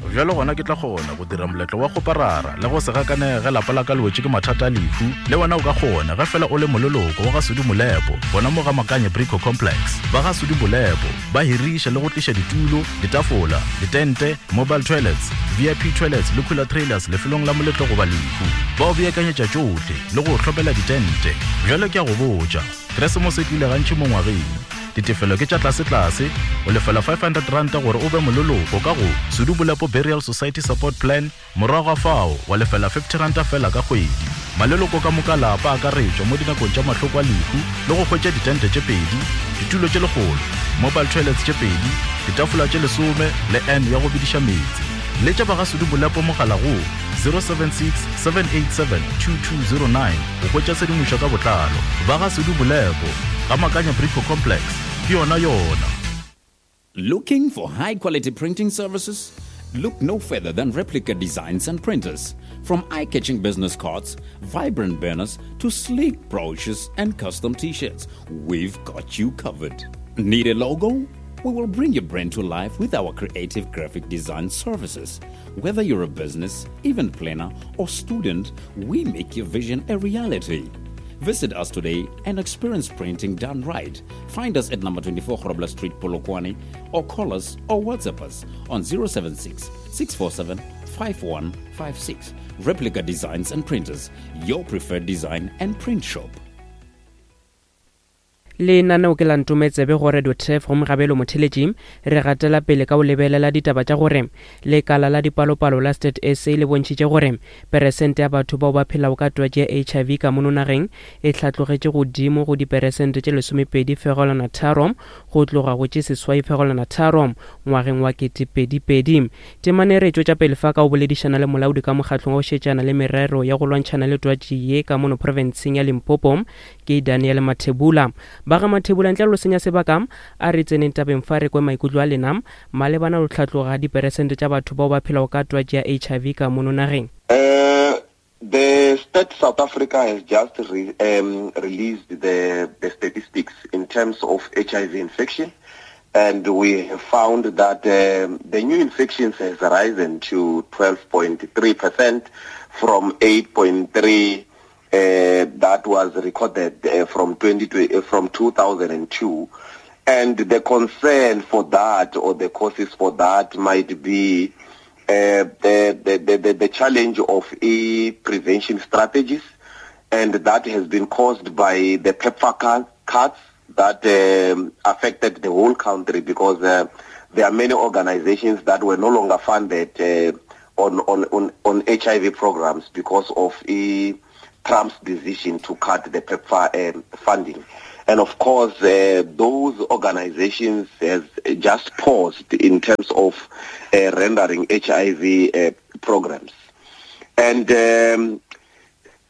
Bjalo gona ke tla kgona go dira moletlo wa go parara le go se gakanege lapa la ka le wetše ke mathata a lehu. Le wena o ka kgona ge fela o le moleloko wa ga Sudi Molepo, gona mo ga Makanye Brico Complex. Ba ga Sudi Molepo ba hiriša le go tliša ditulo, ditafola, ditente, mobile toilets, V I P toilets le cooler trailers lefelong la moletlo goba lehu. Ba o beakanyetša tšohle le go hlopela ditente. Bjalo ke a go botša, Keresemose e tlile gantši mo ngwageng. Ditefelo ke tša tlase-tlase, o lefela five hundred rand gore o be moleloko ka go Sudi Molepo Burial Society Support Plan, morago ga fao wa lefela fifty rand fela ka kgwedi. Maleloko ka moka lapa a akaretšwa mo dinakong tša mahloko a lehu le go hwetša ditente tše pedi, ditulo tše lekgolo, mobile toilets tše pedi, ditafola tše lesome le N ya go bediša meetse. Letša ba ga Sudi Molepo mogala go zero seven six, seven eight seven, two two zero nine go hwetša tshedimošo ka botlalo. Ba ga Sudi Molepo, ga Makanya Brico Complex, ke yona yona. Looking for high-quality printing services? Look no further than Replica Designs and Printers. From eye-catching business cards, vibrant banners, to sleek brochures and custom t-shirts, we've got you covered. Need a logo? We will bring your brand to life with our creative graphic design services. Whether you're a business, event planner, or student, we make your vision a reality. Visit us today and experience printing done right. Find us at number twenty-four Grobler Street, Polokwane, or call us or WhatsApp us on zero seven six, six four seven, five one five six. Replica Designs and Printers, your preferred design and print shop. Lenaneo ke la Ntometsebe go Radio Turf go Mogabelo Motheletši. Re gatela pele ka go lebelela ditaba tša gore lekala la dipalopalo la State S A le bontšhitše gore peresente ya batho bao ba phelago ka twatši ya H I V ka mono nageng e hlatlogetše godimo go diperesente tše lesomepedi fegelwana tharo go tloga go tše seswai fegelwana tharo ngwageng wa ketepedi-pedi. Temane re tšwetša pele fa ka go boledišana le molaodi ka mokgatlong wa go šetšana le merero ya go lwantšhana le twatši ye ka mono profenseng ya Limpopo, ke Daniel Mathebula. Ba ga Mathebula, ntle le senya sebaka, a re tseneng tabeng fa re kwe maikutlo a lena malebana le tlhatloga diperesente tša batho bao ba phelago ka twatši ya H I V ka mono nageng. Uh, the State South Africa has just re, um, released the, the statistics in terms of H I V infection, and we have found that um, the new infections has risen to twelve point three percent from eight point three Uh, that was recorded, uh, from twenty uh, from two thousand two, and the concern for that, or the causes for that, might be, uh, the, the, the, the challenge of e-prevention strategies, and that has been caused by the PEPFAR cuts that um, affected the whole country, because uh, there are many organizations that were no longer funded uh, on, on, on, on H I V programs because of e Trump's decision to cut the PEPFAR um, funding. And of course, uh, those organizations has just paused in terms of uh, rendering H I V uh, programs. And um,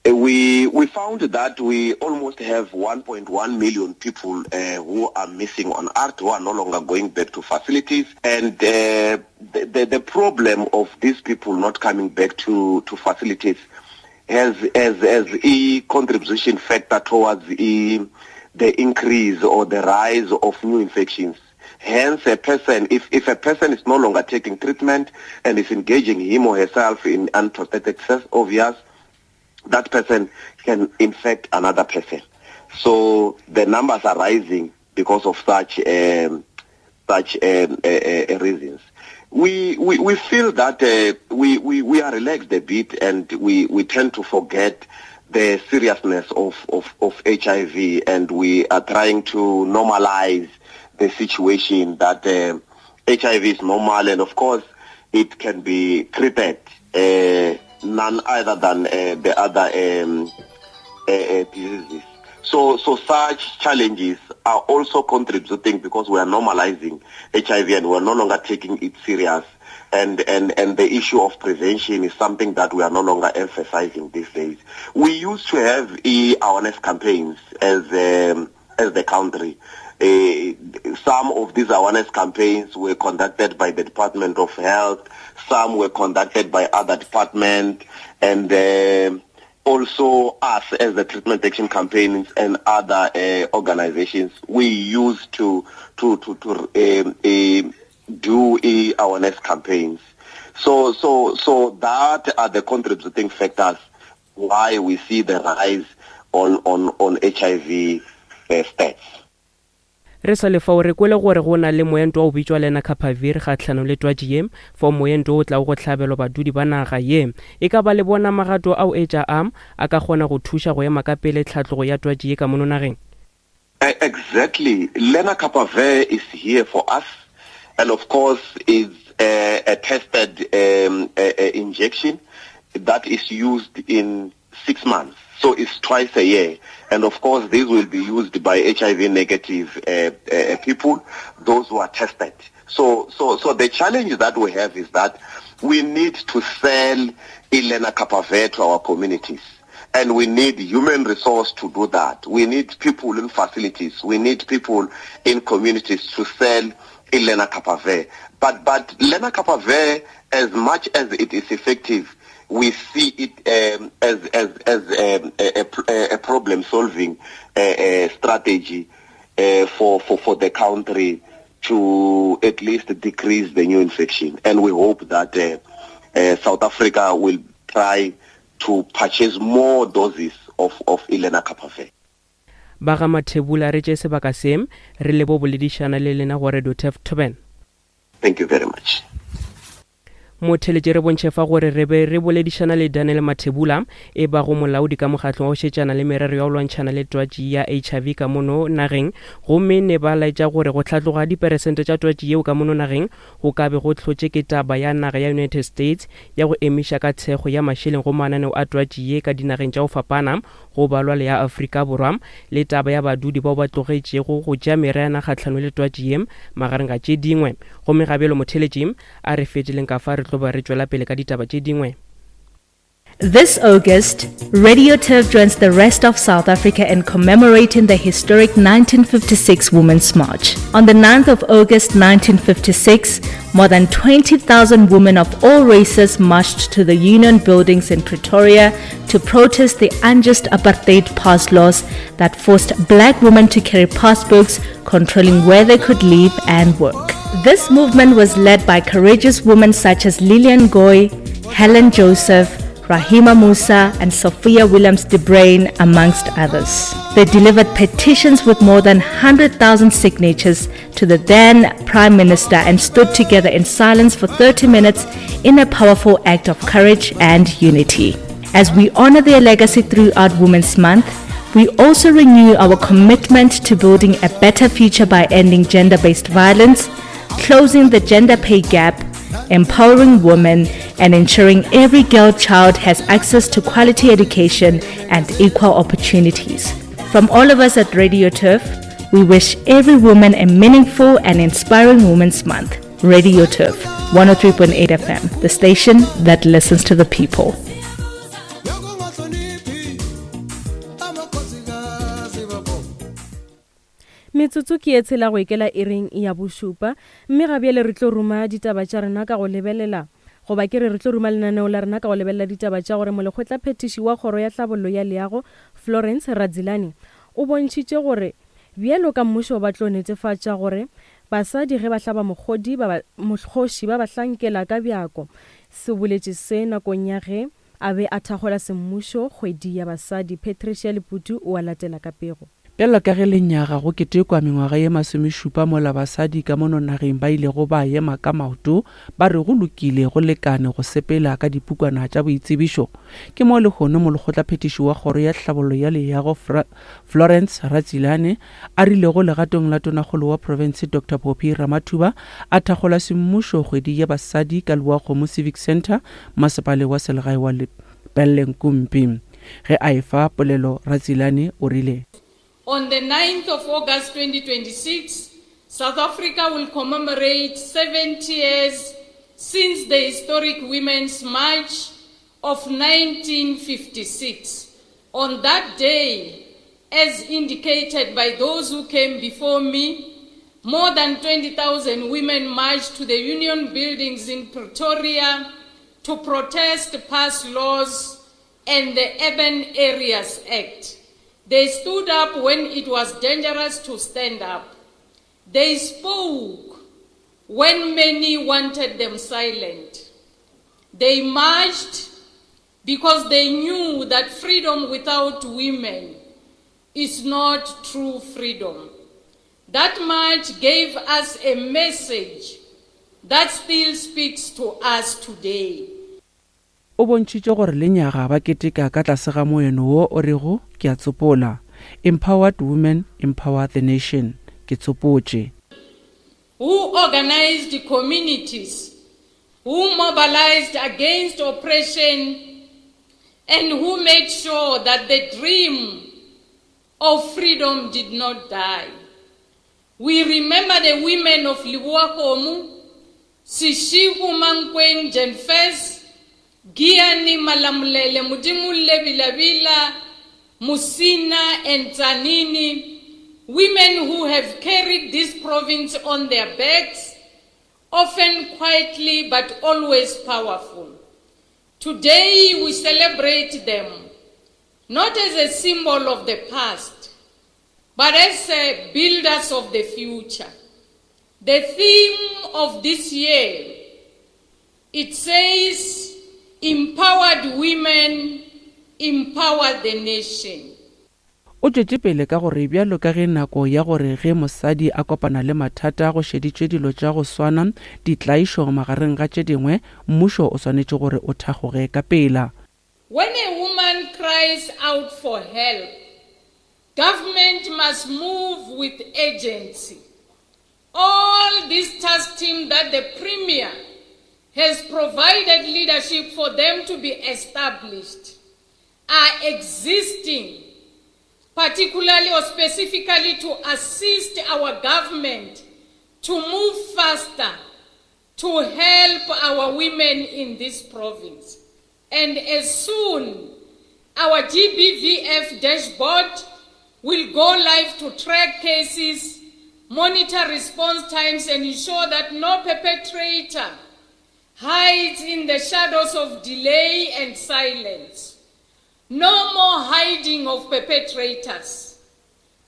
We we found that we almost have one point one million people uh, who are missing on A R T, who are no longer going back to facilities. And uh, the, the, the problem of these people not coming back to, to facilities has as, as a contribution factor towards the, the increase or the rise of new infections. Hence, a person, if, if a person is no longer taking treatment and is engaging him or herself in unprotected sex, obvious, that person can infect another person. So the numbers are rising because of such um, such um, uh, uh, reasons. We, we, we feel that uh, we, we, we are relaxed a bit, and we, we tend to forget the seriousness of, of, of H I V, and we are trying to normalize the situation that uh, H I V is normal, and of course it can be treated uh, none other than uh, the other um, uh, uh, diseases. So, so such challenges are also contributing because we are normalizing H I V and we are no longer taking it serious. And, and, and the issue of prevention is something that we are no longer emphasizing these days. We used to have awareness campaigns as, um, as the country. Uh, some of these awareness campaigns were conducted by the Department of Health, some were conducted by other departments, and uh, also us as the Treatment Action Campaigns and other uh, organizations, we used to to to, to um, uh, do uh, awareness campaigns. So so so that are the contributing factors why we see the rise on on, on H I V uh, stats. Re sa lefao re kwele gore go na le moento wa o bitšwa Lenacapavir kgatlhanong le twatši ye, fao moento o tlago go hlabelwa badudi ba naga ye. E ka ba le bona magato ao etša a a ka kgona go thuša go ema ka pele tlhatlogo ya twatši ye ka mono nageng. Exactly. Lenacapavir is here for us, and of course is a, a tested um, a, a injection that is used in six months. So it's twice a year. And of course, this will be used by H I V negative uh, uh, people, those who are tested. So, so, so the challenge that we have is that we need to sell Lenacapavir to our communities. And we need human resource to do that. We need people in facilities. We need people in communities to sell Lenacapavir. But, but Lenacapavir, as much as it is effective, we see it um, as as as um, a, a, a problem-solving uh, uh, strategy uh, for, for, for the country to at least decrease the new infection. And we hope that uh, uh, South Africa will try to purchase more doses of, of Lenacapavir. Ba ga Mathebula re tše sebaka se re le bo boledišana le lena go Radio Turf Toben. Thank you very much. Motheletše re bontšhe fa gore re be re boledišana le Daniel Mathebula e ba go molaodi ka mokgatlong wa go šetšana le merero ya go lwantšhana le twatši ya H I V ka mono nageng, gomme ne ba laetša gore go hlatloga diperesente tša twatši yeo ka mono nageng go ka be go hlotše ke taba ya naga ya United States ya go emiša ka thekgo ya mašeleng go mananeo a twatši ye ka dinageng tša go fapana go balwa le ya Afrika Borwa, le taba ya badudi bao ba tlogetšego go tšea meriana kgatlhanong le twatši ye magareng ga tše dingwe. Gomme gabelo motheletši a re feteleng ka fa re tlo ba re tšwela pele ka ditaba tše dingwe. This August, Radio Turf joins the rest of South Africa in commemorating the historic nineteen fifty-six Women's March. On the ninth of August nineteen fifty-six, more than twenty thousand women of all races marched to the Union Buildings in Pretoria to protest the unjust apartheid pass laws that forced black women to carry passbooks controlling where they could live and work. This movement was led by courageous women such as Lillian Goy, Helen Joseph, Rahima Moosa and Sophia Williams de Bruyn, amongst others. They delivered petitions with more than one hundred thousand signatures to the then Prime Minister and stood together in silence for thirty minutes in a powerful act of courage and unity. As we honor their legacy throughout Women's Month, we also renew our commitment to building a better future by ending gender-based violence, closing the gender pay gap, empowering women, and ensuring every girl child has access to quality education and equal opportunities. From all of us at Radio Turf, we wish every woman a meaningful and inspiring Women's Month. Radio Turf, one oh three point eight F M, the station that listens to the people. Metsotso ke e tshela go ikela ering ya bošupa, mme ga bjale re tlo ruma ditaba tša rena ka go lebelela goba ke re re tlo ruma lenaneo la rena ka go lebelela ditaba tša gore molekgotlaphethiši wa kgoro ya tlhabollo ya leago Florence Radzilani o bontšhitše gore bjalo ka mmušo ba tlo netefatša gore basadi ge ba hlaba mokgodi ba mokgoši ba ba hlankela ka bjako. Se boletše se nakong ya ge a be a thakgola semmušo kgwedi ya basadi. Patricia Leputu o a latela ka pego. Bjalo ka ge lenyaga go ketekwa mengwaga ye masomešupa mola basadi ka mono nageng ba ilego ba ema ka maoto ba re go lokile go lekane go sepela ka dipukwana tša boitsebišo, ke mo lehono molekgotlaphethiši wa kgoro ya tlhabollo ya leago Florence Radzilani a rilego legatong la tonakgolo wa profense Doctor Phophi Ramathuba a thakgola semmušo kgwedi ya basadi ka Leboakgomo Civic Centre masepale wa selegae wa Lepelle-Nkumpi. Ge a efa polelo Radzilani o rile: On the ninth of August twenty twenty-six, South Africa will commemorate seventy years since the historic Women's March of nineteen fifty-six. On that day, as indicated by those who came before me, more than twenty thousand women marched to the union buildings in Pretoria to protest past laws and the Urban Areas Act. They stood up when it was dangerous to stand up. They spoke when many wanted them silent. They marched because they knew that freedom without women is not true freedom. That march gave us a message that still speaks to us today. O bontšhitše gore lenyaga ba keteka ka tlase ga moeno wo o rego ke a tsopola, Empowered women empower the nation. Ke tsopotše. Who organized communities, who mobilized against oppression, and who made sure that the dream of freedom did not die. We remember the women of Lebowakgomo, Seshego Mankweng Jenfes, Giani Malamulele, Mudimulle Bilabila, Musina and Zanini, women who have carried this province on their backs, often quietly but always powerful. Today we celebrate them, not as a symbol of the past, but as builders of the future. The theme of this year, it says, empowered women empower the nation. O tšwetše pele ka gore bjalo ka ge nako ya gore ge mosadi a kopana le mathata go šeditšwe dilo tša go swana ditlaišo magareng ga tše dingwe, mmušo o swanetše gore o thakgoge ka pela. When a woman cries out for help, government must move with urgency. All this task team that the Premier has provided leadership for them to be established are existing, particularly or specifically to assist our government to move faster to help our women in this province. And as soon our G B V F dashboard will go live to track cases, monitor response times, and ensure that no perpetrator hides in the shadows of delay and silence. No more hiding of perpetrators.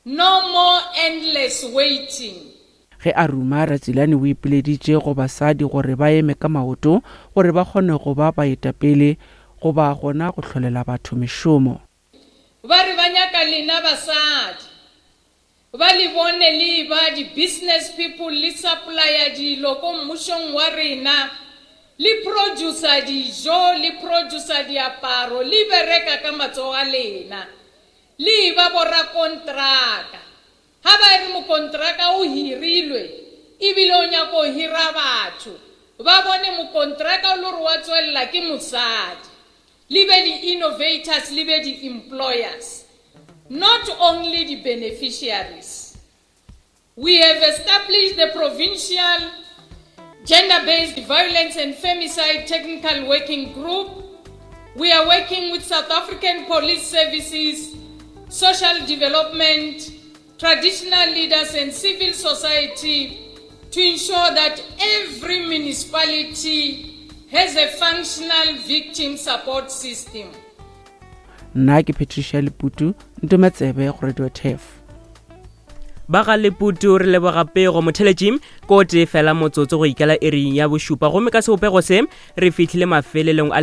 No more endless waiting. Ge a ruma Ratsilane o ipileditše go basadi gore ba eme ka maoto gore ba kgone go ba baetapele goba gona go hlolela batho mešomo. Ba re ba nyaka lena basadi, ba le bone le ba di-business people le supplier dilo ko mmušong wa rena, le producer dijo, le producer diaparo, le bereka ka matsogo a lena, le ba borakontraka. Ha ba re mokontraka o hirilwe ebile o nyaka go hira batho, ba bone mokontraka o le gore wa tswelela ke mosadi. Le be di-innovators, le be di-employers, not only the beneficiaries. We have established the provincial Gender-Based Violence and Femicide Technical Working Group. We are working with South African Police Services social development, traditional leaders and civil society to ensure that every municipality has a functional victim support system. Nna ke Patricia Leputu, Ntometsebe go Radio Turf. Ba ga Leputu, re leboga pego. Motheletši, ko tee fela motsotso go ikela iring ya bošupa, gomme ka sebopego se re fihlile mafelelong a